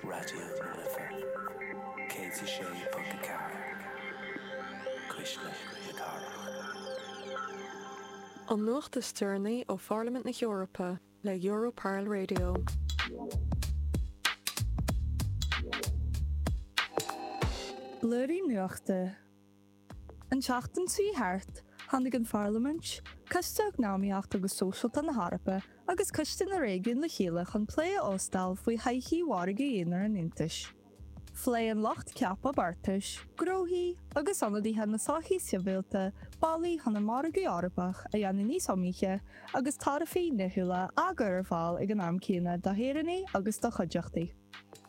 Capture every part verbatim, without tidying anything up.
Raidió na Life céad a sé ponc a ceathair Cuisle na Cathrach. An nuacht is deireanaí ó Pharlaimint na hEorpa le Europarl Radio. Blúiríní Nuachta An tseachtain seo thart, tháinig an Pharlaimint, Coiste Eacnamaíocht agus Sóisialta na hEorpa agus Coiste na Réigiún le chéile chun plé a óstáil faoi thodhchaí mhargadh aonair an Aontais. Phléigh an lucht ceaptha beartais, gnóthaí agus ionadaithe na sochaí sibhialta bealaí chun an margadh Eorpach a dhéanamh níos iomaíche agus taraifí nithiúla á gcur ar fáil ag an am céanna do shaoránaigh agus do chuideachtaí.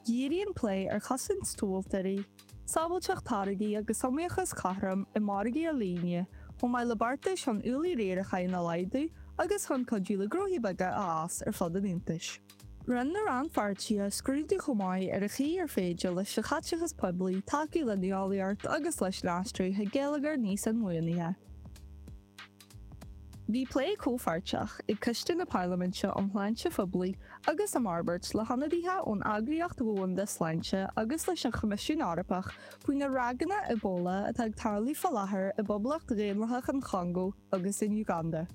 Dhírigh an plé ar chosaint tomhaltóirí, sábháilteacht táirgí agus iomaíochas cothrom i margaí ar líne, chomh maith le beartais chun ualaí riaracháin a laghdú agus chun cuidiú le gnóthaí beaga a fhás ar fud an Aontais. Rinne na rannpháirtithe scrúdú chomh maith ar an chaoi ar féidir leis an chaiteachas poiblí tacú le nuálaíocht agus leis an aistriú chuig geilleagar níos inbhuanaithe. Bhí plé comhpháirteach ag Coiste na Parlaiminte um Shláinte Phoiblí agus um Fhorbairt le hionadaithe ón Eagraíocht Dhomhanda Sláinte agus leis an Choimisiún Eorpach faoi na ráigeanna Ebola atá ag tarlú faoi láthair i bPoblacht Dhaonlathach an Chongó agus in Uganda.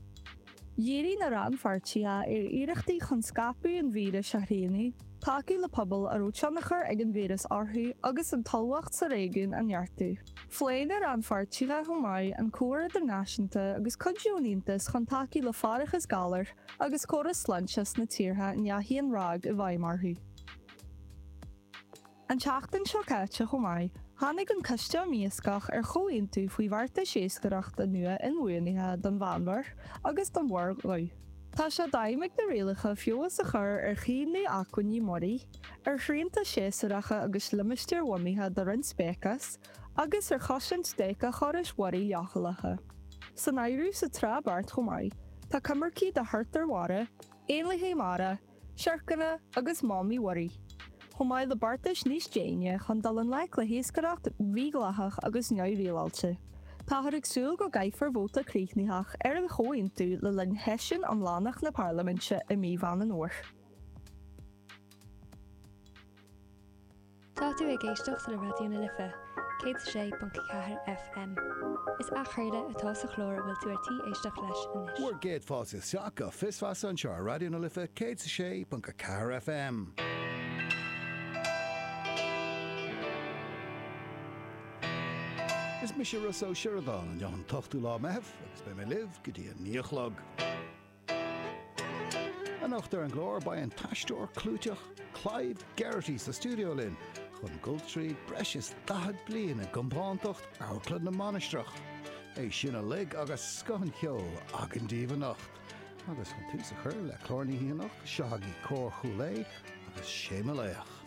Dhírigh na rannpháirtithe ar iarrachtaí chun scaipeadh an víris a shrianadh, tacú le pobail a raibh tionchar ag an víreas orthu agus an ullmhacht sa réigiún a neartú. Phléigh na rannpháirtithe chomh maith an comhar idirnáisiúnta agus cuidiú an Aontais chun tacú le faireachas galar agus córais sláinte sna tíortha a ndeachaigh an ráig i bhfeidhm orthu. An tseachtain seo caite chomh maith, tháinig an Coiste um Iascach ar chomhaontú faoi bheartais iascaireachta nua inbhuanaithe don Mheánmhuir agus don Mhuir Dhubh. Tá sé d'aidhm ag na rialacha feabhas a chur ar chaomhnú acmhainní muirí, ar shrianta séasúracha agus limistéarbhunaithe do roinnt speiceas, agus ar chosaint d'éiceachórais mhuirí leochaileacha. San áireamh sa tsraith beart chomh maith, tá coimircí do thurtair mhara, éanlaithe mara, siorcanna agus mamaigh mhuirí. Chomh maith le beartais níos déine chun dul i ngleic le hiascaireacht mhídhleathach agus neamhrialáilte. Táthar ag súil go gcaithfear vóta críochnaitheach ar an chomhaontú le linn sheisiún iomlánach na Parlaiminte i mí Mheán an Fhómhair. Tá tú ag éisteacht le Raidió na Life, céad a sé ponc ceathair FM. Is athchraoladh atá sa chlár a bhfuil tú ar tí éisteacht leis anois. Bhur gcéad fáilte isteach go Fios Feasa anseo ar Raidió na Life céad a sé ponc a ceathair FM. Is mise Rossa Ó Sioradáin, inniu an t-ochtú lá Meitheamh agus beidh mé libh go dtí a naoi a chlog. Anocht ar an gclár beidh an t-aisteoir clúiteach Clive Geraghty sa stiúideo linn chun dul tríd breis is daichead bliain i gcompántacht Amharclann na Mainistreach. É sin uilig agus scoth an cheoil againn daoibh anocht. Agus chun tús a chur le clár na hoíche anocht, seo agaibh Cór Chúil Aodha agus Sé Mo Laoch.